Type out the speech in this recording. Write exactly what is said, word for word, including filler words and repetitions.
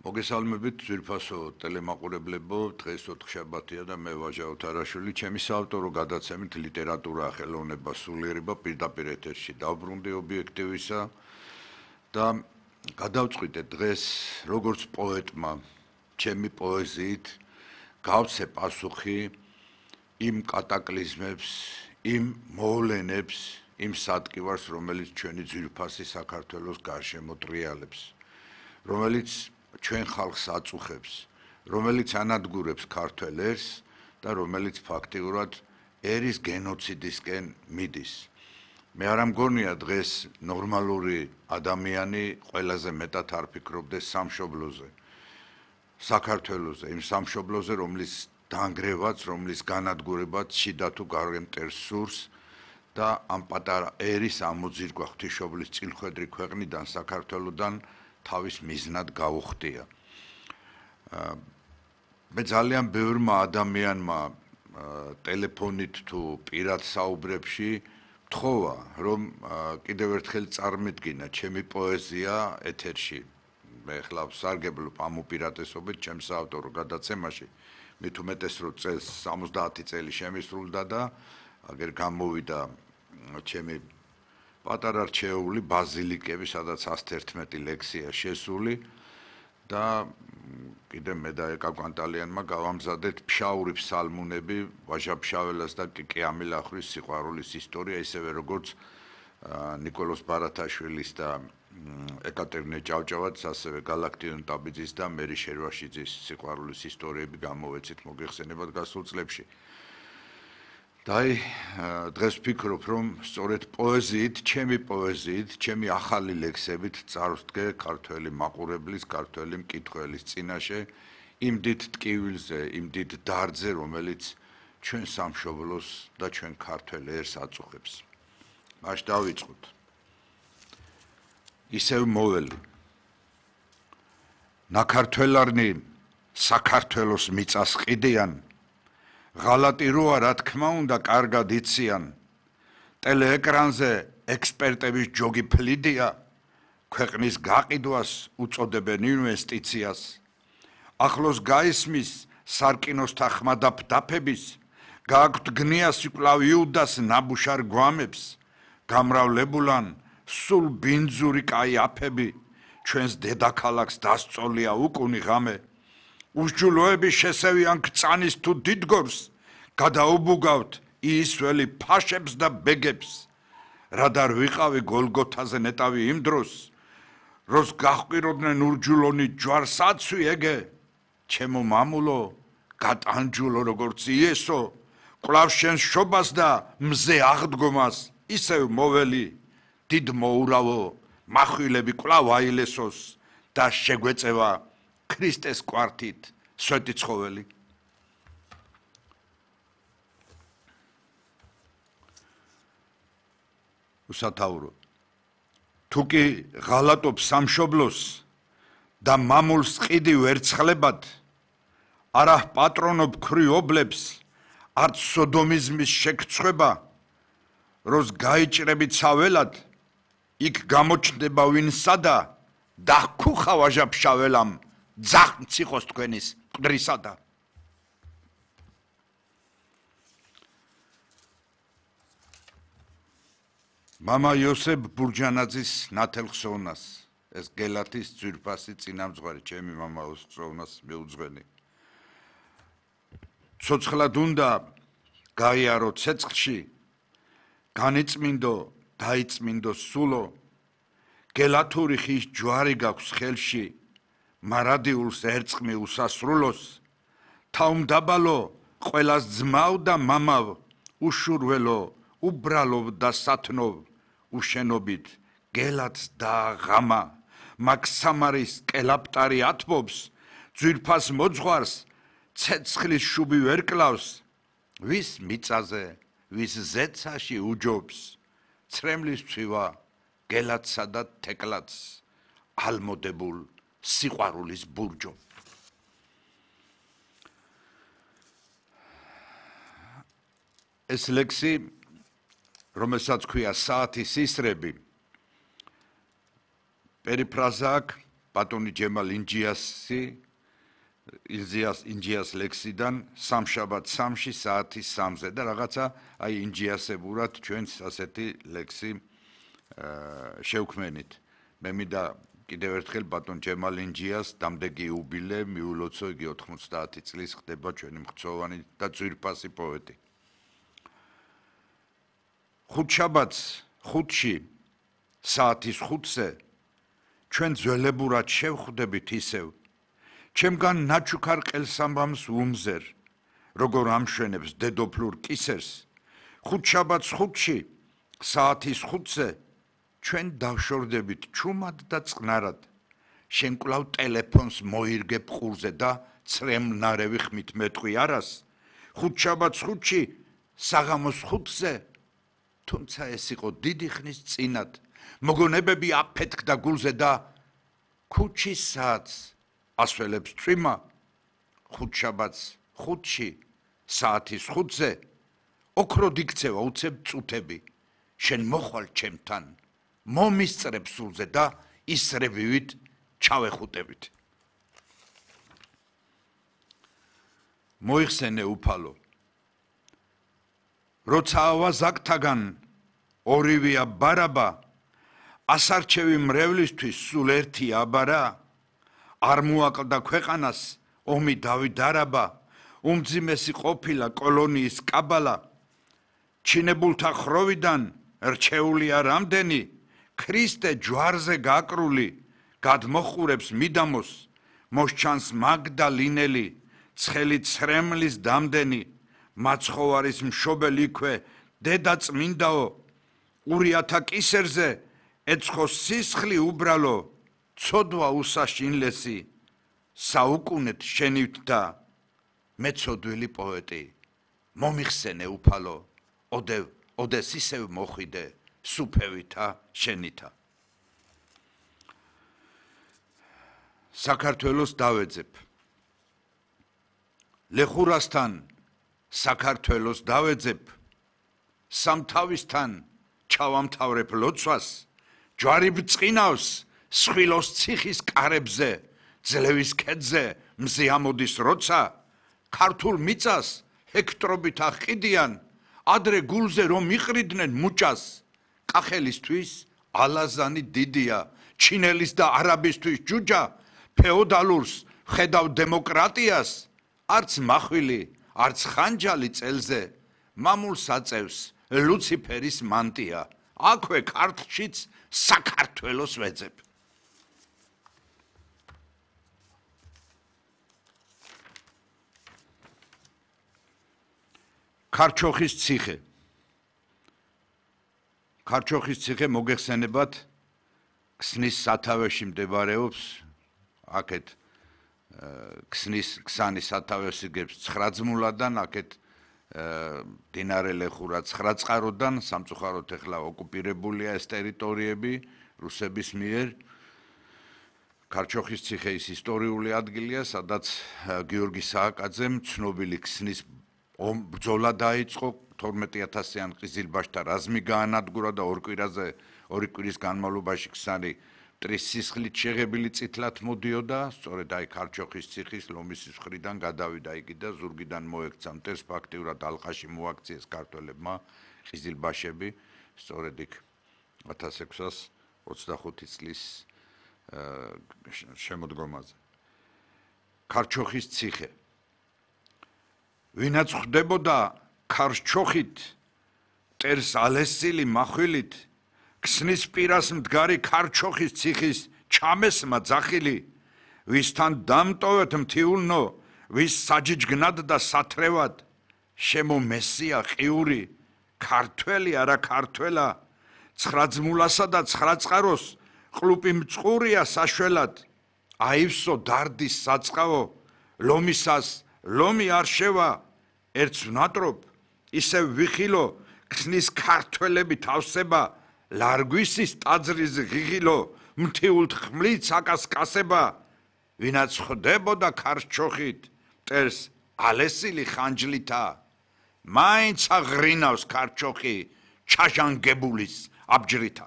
მოგესალმებით ძვირფასო ტელემაყურებლებო, დღეს ოთხშაბათია და მე ვაჟა ოთარაშვილი, ჩემი საავტორო გადაცემით ლიტერატურა, ხელოვნება, სულიერება პირდაპირ ეთერში დავბრუნდი ობიექტივისა და გადავწყვიტე დღეს როგორც პოეტმა, ჩემი პოეზიით გავცე პასუხი იმ კატაკლიზმებს, იმ მოვლენებს, იმ სატკივარს, რომელიც ჩვენი ძვირფასი საქართველოს გარშემო ტრიალებს, რომელიც ჩვენ ხალხს აწუხებს, რომელიც ანადგურებს ქართველ ერს და რომელიც ფაქტიურად ერის გენოციდისკენ მიდის. მე არ ამგონია დღეს ნორმალური ადამიანი ყველაზე მეტად არ ფიქრობდეს სამშობლოზე, საქართველოზე, იმ სამშობლოზე, რომლის დანგრევაც, რომლის განადგურებაც შიდა თუ გარემტერ სურს და ამ პატარა ერის ამოძირკვა ღვთისმშობლის წილხვედრი ქვეყნიდან, საქართველოდან თავის მიზნად გაუხდია. მე ძალიან ბევრმა ადამიანმა ტელეფონით თუ პირად საუბრებში მთხოვა, რომ კიდევ ერთხელ წარმედგინა ჩემი პოეზია ეთერში. მე ხლა ვსარგებლობ ამ უპირატესობით ჩემს საავტორო გადაცემაში, მით უმეტეს რომ წელს სამოცდაათი წელი შემისრულდა და აგერ გამოვიდა ჩემი პატარა რჩეული ბაზილიკები, სადაც ასი ერთმეტი ლექსია შესული და კიდე მე და ეკა კვანტალიანმა გავამზადეთ ფშაური ფსალმუნები ვაჟა ფშაველას და კიკი ამილახვის სიყვარულის ისტორია, ისევე როგორც ნიკოლოზ ბარათაშვილის და ეკატერინე ჭავჭავაძის, ასევე გალაქტიონ ტაბიძის და მერი შერვაშიძის სიყვარულის ისტორიები გამოვეცით მოგეხსენებათ გასულ წლებში. და დღეს ვფიქრობ, რომ სწორედ პოეზიით, ჩემი პოეზიით, ჩემი ახალი ლექსებით წარვსდგე ქართველი მაყურებლის, ქართველი მკითხველის წინაშე იმ დიდ ტკივილზე, იმ დიდ დარდზე, რომელიც ჩვენ სამშობლოს და ჩვენ ქართველ ერს აწუხებს. მაშ დავიწყოთ. ისევ მოველი. ნაქართველარნი საქართველოს მიწას ყიდიან, ღალატი როა რა თქმა უნდა კარგად იციან, ტელეეკრანზე ექსპერტების ჯოგი ფლიდია, ქვეყნის გაყიდვას უწოდებენ ინვესტიციას, ახლოს გაისმის სარკინოსთა ხმადაფდაფების, გააქვთ გნია სიკვლავ იუდას ნაბუშარ გვამებს, გამრავლებულან სულ ბინძური კაი აფები, ჩვენს დედაქალაქს დასწოლია უკუნი ღამე, უსჯულოები შესევიან ქწანის თუ დიდგორს, გადაუბუგავთ იისველი ფაშებს და ბეგებს, რადარ ვიყავი გოლგოთაზე ნეტავი იმ დროს, როს გაჰყვიროდნენ ურჯულონი ჯვარს აცვი ეგე, ჩემო მამულო, გატანჯულო როგორც იესო, კვლავ შენს შობას და მზე აღდგომას, ისევ მოველი, დიდ მოურავო, מחვილები კვლავ აილესოს და შეგვეწევა ქრისტეს კვართით სვეტი ცხოველი. უსათაურო. თუ კი ღალატობ სამშობლოს და მამულს ყიდი ვერცხლებად, არა პატრონობ ქრიობლებს, არც სოდომიზმის შეგწყვება, როს გაიჭრები ცაველად, იქ გამოჩნდება ვინსადა და ხუხა ვაჟა ფშაველამ ძახ მციხოს თქვენის მკვდრისადა. მამა იოსებ ბურჯანაძის ნათელხსოვნას, ეს გელათის ძვირფასი წინამძღვარი, ჩემი მამა ხსოვნას მეუძღვენი. ცოცხლად უნდა გაიარო ცეცხლში, განიწმინდო, დაიწმინდო სულო, გელათური ხის ჯვარი გაქვს ხელში, მარადიულს ერწყმი უსასრულოს, თავმდაბალო ყველას ძმავ და მამავ, უშურველო, უბრალობ და სათნოვ, უშენობით გელათს და ღამა, მაგ სამარის კელაპტარი ათბობს, ძვირფას მოძღვარს, ცეცხლის შუბი ვერ კლავს, ვის მიწაზე, ვის ზეცაში უჯობს, ცრემლის ცვივა, გელათსა და თეკლათს, ალმოდებულ სიყვარულის ბურჯო. ეს ლექსი, რომელსაც ქვია საათის ისრები, პერიფრაზა აქვს ბატონი ჯემალ ინჯიასი ინჯიას ინჯიას ლექსიდან სამშაბათ სამში საათის სამზე და რაღაცა აი ინჯიასებურად ჩვენს ასეთი ლექსი შევქმენით. მე მინდა კიდევ ერთხელ ბატონ ჯემალ ინჯიას დამდეგი იუბილე მიულოცო, იგი ოთხმოცდაათი წლის ხდება ჩვენი მხცოვანი და ძვირფასი პოეტი. ხუთშაბათს ხუთში საათის ხუთზე ჩვენ ძველებურად შევხვდებით ისევ ჩემგან ნაჩუქარ ყელსამბამს უმზერ როგორ ამშვენებს დედოფლურ კისერს ხუთშაბათს ხუთში საათის ხუთზე ჩვენ დავშორდებით ჩუმად და წყნარად შენ კვლავ ტელეფონს მოირგებ ყურზე და ცრემლნარევი ხმით მეტყვი არას ხუთშაბათს ხუთში საღამოს ხუთზე თუმცა ეს იყო დიდი ხნის წინათ მოგონებები აფეთქდა გულზე და ქუჩის საათს ასველებს წვიმა ხუთშაბათს ხუთში საათის ხუთზე ოქროდ იქცევა უცებ წუთები შენ მოხვალ ჩემთან მომისწრებ სულზე და ისრებივით ჩავეხუტებით მოიხსენე უფალო როცა ავაზაკთაგან ორივეა ბარაბა ასარჩევი მრევლისთვის სულ ერთი აბარა არ მოაკლდა ქვეყანას ომი დავიდარაბა უმძიმესი ყოფილა კოლონიის კაბალა ჩინებულთა ხროვიდან რჩეულია რამდენი ქრისტე ჯვარზე გაკრული გადმოხურებს მიდამოს მოსჩანს მაგდალინელი ცხელი ცრემლის დამდენი მაცხოვარის მშობელი იქვე დედა წმინდაო ურიათა კისერზე ეცხოს სისხლი უბრალო ცოდვა უსაშინლესი საუკუნეთ შენივთ და მეცოდვილი პოეტი მომიხსენე უფალო ოდევ ოდეს ისევ მოხვიდე სუფევითა შენითა საქართველოს დავეძებ ლეხურასთან საქართველოს დავეძებ სამთავისთან ჩავამთავრებ ლოცვას ჯვარი ბწყინავს სხვილოს ციხის კარებზე ძლევის ქედზე მზე ამოდის როცა ქართულ მიწას ჰექტრობით აყიდიან ადრე გულზე რომ იყრიდნენ მუჭას კახელისთვის ალაზანი დიდია ჩინელის და არაბისთვის ჯუჯა ფეოდალურს ხედავ დემოკრატიას არც მახვილი არც ხანჯალი წელზე მამულს აწევს ლუციფერის მანტია აქვე ქართლშიც საქართველოს ვეძებ ქარჩოხის ციხე ქარჩოხის ციხე მოგეხსენებათ ქსნის სათავეში მდებარეობს აქეთ ქსნის ქსანის სათავეს იგებს ცხრაძმულადან აქეთ დინარე ლეხურა ცხრაწყაროდან სამწუხაროდ ეხლა ოკუპირებულია ეს ტერიტორიები რუსების მიერ ქარჩოხის ციხე ის ისტორიული ადგილია სადაც გიორგი სააკაძემ ცნობილი ქსნის ბრძოლა დაიწყო თორმეტი ათასიან ყიზილბაშთა რაზმი გაანადგურა და ორ კვირაზე ორი კვირის განმავლობაში ქსანი მტრის სისხლით შეღებილი წითლად მოდიოდა სწორედ აი ქარჩოხის ციხის ლომისის მხრიდან გადავიდა იგი და ზურგიდან მოექცა მტერს ფაქტიურად ალყაში მოაქციეს ქართველებმა ყიზილბაშები სწორედ იქ ათას ექვსას ოცდახუთი წლის შემოდგომაზე ქარჩოხის ციხე ვინაც ხვდებოდა ქარჩოხით მტერს ალესილი מחვილით ქსნის პირას მდგარი ქარჩოხის ციხის ჩამესმა ძახილი ვისთან დამტოვეთ მთიულნო ვის საჯიჯგნად და სათრევად შემომესია ყიური ქართველი არა ქართველა ცხრაძმულასა და ცხრაწყაროს ყლუპი მწყურია საშველად აივსო დარდის საწყავო ლომისას ლომი არ შევა ერთს ვნატრობ ისევ ვიხილო ქსნის ქართველები თავსება ლარგვისის ტაძრის ღიღილო მთიულთ ხმლით აკასკასება ვინაც ხვდებოდა ქარჩოხით მტერს ალესილი ხანჯლითა მაინც აღრინავს ქარჩოხი ჩაჟანგებულის აბჯრითა